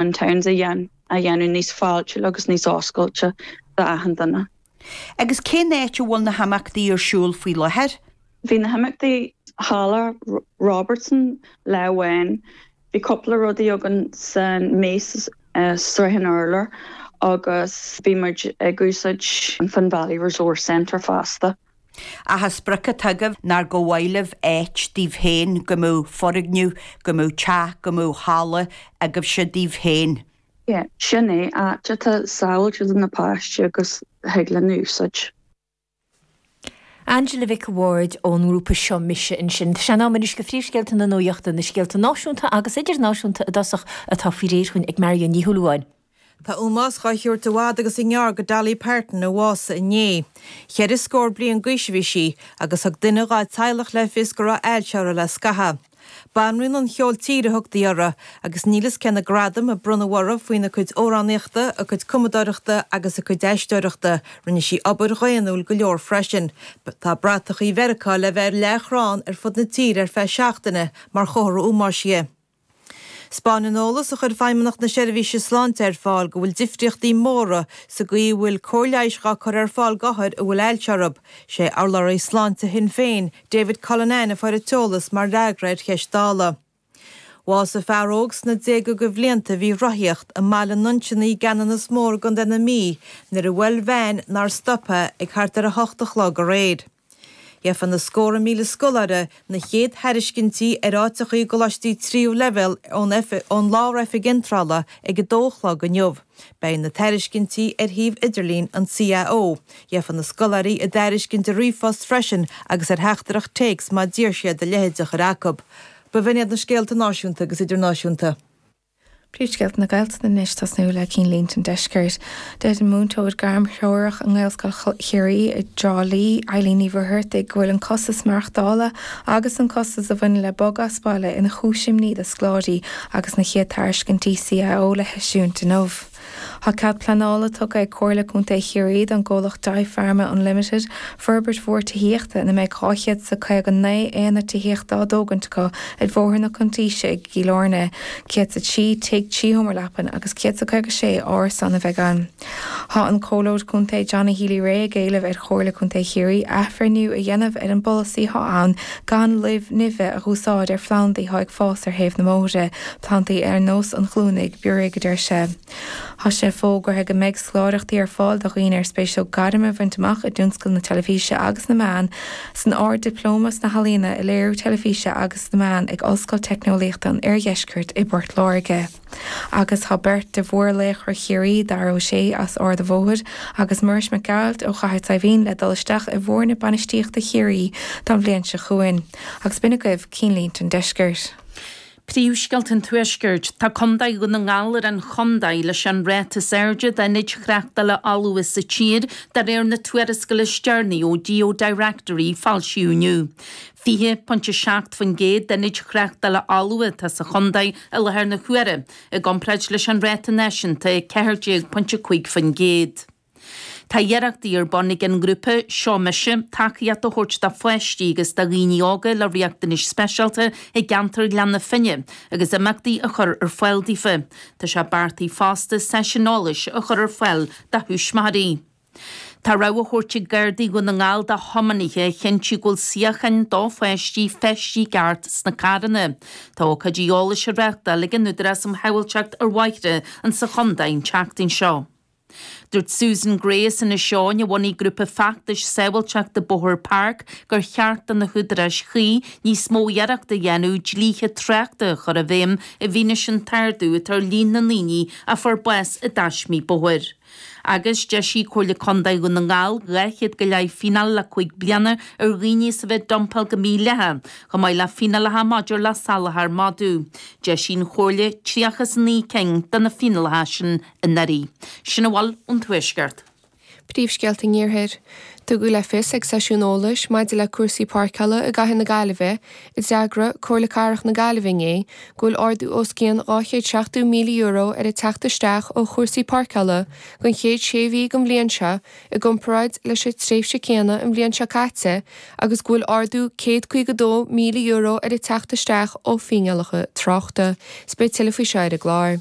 Twin Towns a dhéanamh níos fáiltiúla agus níos oscailte d'achan duine. Agus cén áit a bhfuil na himeachtaí ar siúl faoi láthair? Bhí na himeachtaí Halla Robertson lá amháin. Bhí cúpla rudaí againn san Mace Sraith an Urláir agus bhí muid ag úsáid an Finn Valley Resource Centre fosta. Ach an sprioc atá agaibh ná gur mhaith libh áit daoibh féin, go mbeadh foirgneamh, go mbeadh teach, go mbeadh halla agaibhse daoibh féin. Yeah, sin é, áit atá sábháilte do na páistí agus thig linn a úsáid. Angela Mhic a' Bhaird ón ngrúpa Seo Mise ansin. Tá sé in am anois do phríomhscéalta na nuachta, na scéalta náisiúnta agus idirnáisiúnta i dtosach atá faoi réir chugainn ag Marion Ní Shúilleabháin. Tá ómós dhá thabhairt i bhfad agus i ngearr go Dolly Parton a bhásaigh inné. Cheithre scór bliain d'aois a bhí sí agus thug duine dhá teaghlach le fios go raibh ailse uirthi le scaitheamh. Banríon an cheoil tíre a thugtaí uirthi agus níl fhios cé na gradaim a bronnadh uirthi faoina cuid amhránaíochta, a cuid cumadóireachta agus a cuid aisteoireachta. Rinne sí obair dhaonnúil go leor freisin. Tá bratachaí Mheiriceá le bheith ar leathchrann ar fud na tíre ar feadh seachtaine mar chomhartha ómóis di. 'Spáineann an eolas a chuir Feidhmeannacht na Seirbhíse Sláinte ar fáil go bhfuil difríochtaí móra sa gcaoi a bhfuil cóir leighis dhá cur ar fáil d'othair a bhfuil ailse orthu. Sé urlabhraí sláinte Shinn Féin, David Cullinane a fuair an t-eolas mar fhreagra ar cheist Dála. Bhásaigh fear óg sna déaga de bhlianta a bhí ag rothaíocht i mBaile an Nuinseannaigh i gCeanannas Mór i gContae na Mí nuair a bhuail veain nár stop é ag thart ar 8 a chlog aréir. Gheofa na scórtha míle scoláire na chéad thairiscintí ar áiteachaí i gcoláistí tríú leibhéal ón ón Lár-Oifig Iontrála ag 2 a chlog inniu. Beidh na tairiscintí ar shuíomh idirlín an CAO. Gheofa na scoláirí a dtairiscint ar ríomhphost freisin agus ar theachtaireacht téacs má d'iarr siad a leithéid a chur acu. B'in iad na scéalta náisiúnta agus idirnáisiúnta. Príomhscéalta na Gaeltachta anois, tosnú le cinnlínte an deiscirt. Deir an múinteoir gairmthreorach i nGaelscoil Chiarraí i dTrá Lí, Eileen Ní Mhuircheartaigh, go bhfuil an costas maireachtála agus an costas a bhaineann le bogadh as baile ina chúis imní do scoláirí agus na chéad tairiscintí CAO le heisiúint inniu. Tá cead pleanála tugtha ag Comhairle Contae Chiarraí don gcomhlacht Dipharma Unlimited forbairt mhór tithíochta ina mbeidh 259 aonad tithíochta á dtógaint acu ar Bhóthar na Cuntaoise i gCill Airne. 103 tigh 3 sheomra leapan agus 156 árasán a bheidh ann. Tá an Comhairleoir Contae Johnny Healy-Rae ag éileamh ar Chomhairle Contae Chiarraí athbhreithniú a dhéanamh ar an bpolasaí atá ann gan luibh nimhe a dh'úsáid ar phlandaí atá ag fás ar thaobh na mbóithre, plandaí ar nós an ghlúinigh, bioraigh, a deir sé. Tá sé fógartha go mbeidh scoláireachtaí ar fáil do dhaoine ar spéis leo gairm a bhaint amach i dtionscal na teilifíse agus na meán san Ard-Dioplóma sna hEalaíona i Léiriú Teilifíse agus sna Meán ag Ollscoil Teicneolaíochta an Oirdheiscirt i bPort Láirge. Agus tá beirt de mhórlaochra Chiarraí, Dara Ó Sé as Ard a' Bhóthair agus Muiris Mac Gearailt ó Chathair Saidhbhín le dul isteach i bhfoirne bainistíochta Chiarraí don bhliain seo chugainn. Agus b'in agaibh cinnlínte an deiscirt. Príomhscéalta an Tuaiscirt, Tá Contae Dhún na nGall ar an chontae leis an ráta is airde d'ionaid thráchtála fholmha sa tír de réir na tuarascála is deireanaí ó GeoDirectory foilsíodh inniu. 20.7% d'ionaid thráchtála fholmha atá sa chontae i láthair na huaire, i gcomparáid leis an ráta náisiúnta 14.5%. Tá iarrachtaí ar bun ag an ngrúpa Seo Mise tacaíocht a thabhairt do pháistí agus do dhaoine óga le riachtanais speisialta i gceantar Ghleann na Finne agus imeachtaí a chur ar fáil daofa. Tá sé beartaithe fosta seisiún eolais a chur ar fáil do thuismitheoirí. Tá rabhadh á thabhairt ag Gardaí Dhún na nGall do thiománaithe a chinntiú go bhfuil suíocháin do pháistí feistithe i gceart sna carranna. Tá ócáidí eolais á reáchtáil ag an Údarás um Shábháilteacht ar Bhóithre insa chontae an tseachtain seo. Dúirt Susan Gray as Inis Eoghain, a bhunaigh grúpa feachtais sábháilteachta bóthair Park, gur cheart do na húdaráis chuí níos mó iarrachta a dhéanamh dlíthe tráchta a chur i bhfeidhm i bhfianaise an t-ardú atá ar líon na ndaoine a fuair bás i dtaismí bóthair. Agus d'eisigh Comhairle Contae Dhún na nGall 200 go leith fíneáil le 5 bliana ar dhaoine as a bheith ag dumpáil go mídhleathach, chomh maith le fíneálacha maidir le salachar madadh. D'eisigh an Chomhairle 39 cinn de na fíneálacha sin anuraidh. Sin a bhfuil ón Tuaisceart. Príomhscéalta an Iarthair. Tugadh le fios ag seisiún eolais maidir le cúrsaí páirceála i gcathair na Gaillimhe a d'eagraigh Comhairle Cathrach na Gaillimhe inné go bhfuil ardú os cionn €270,000 ar an teacht isteach ó chúrsaí páirceála don chéad sé mhí den bhliain seo i gcomparáid leis an tréimhse céanna an bhliain seo caite agus go bhfuil ardú €152,000 ar an teacht isteach ó fíneálacha tráchta. Is beidh tuilleadh faoi seo ar an gclár.